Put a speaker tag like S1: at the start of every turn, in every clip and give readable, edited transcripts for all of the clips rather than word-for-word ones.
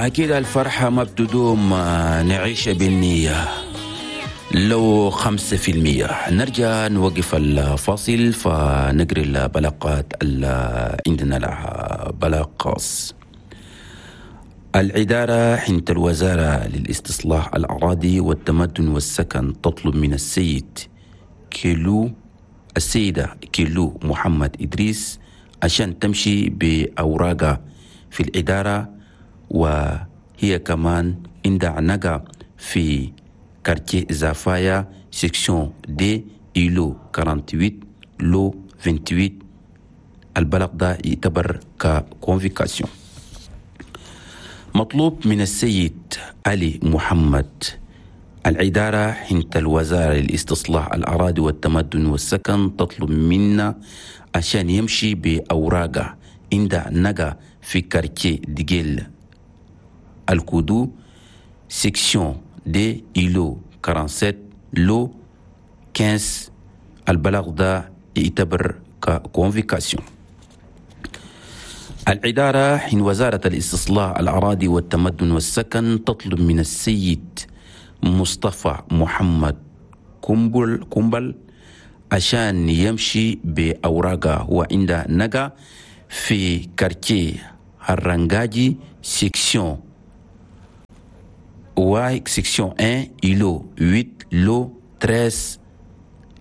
S1: أكيد الفرحة ما بتدوم، نعيش بالنية لو 5%. نرجع نوقف الفاصل فنقري البلاغات اللي عندنا لها بلاغ خاص. الإدارة حنت الوزارة للاستصلاح الأراضي والتمدن والسكن تطلب من السيد كيلو السيدة كيلو محمد إدريس عشان تمشي بأوراقها في الإدارة، وهي كمان عندها نقا في quartier زافايا section deux îlot 48 lot 28. البلاغ ده يعتبر ك convocation. مطلوب من السيد علي محمد، الإدارة حنت الوزارة للاستصلاح الأراضي والتمدن والسكن تطلب منا عشان يمشي بأوراقه عند نقا في quartier ديجيل الكودو section deux îlot 47 lot 15. البلاغ ده يعتبر ك convocation. الإدارة حين وزارة الاستصلاح الأراضي والتمدن والسكن تطلب من السيد مصطفى محمد كومبل كومبل عشان يمشي بأوراقه، هو عند نقا في quartier هرنجاجي section واي section 1 îlot 8 lot 13.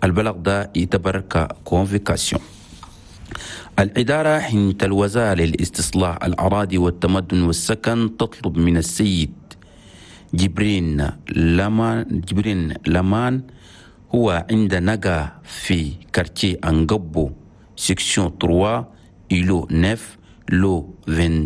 S1: البلاغ ده يعتبر ك convocation. الإدارة حين الوزارة للاستصلاح الأراضي والتمدن والسكن تطلب من السيد جبرين لمان هو عند نقا في quartier أنقبو section 3 îlot 9 lot 20.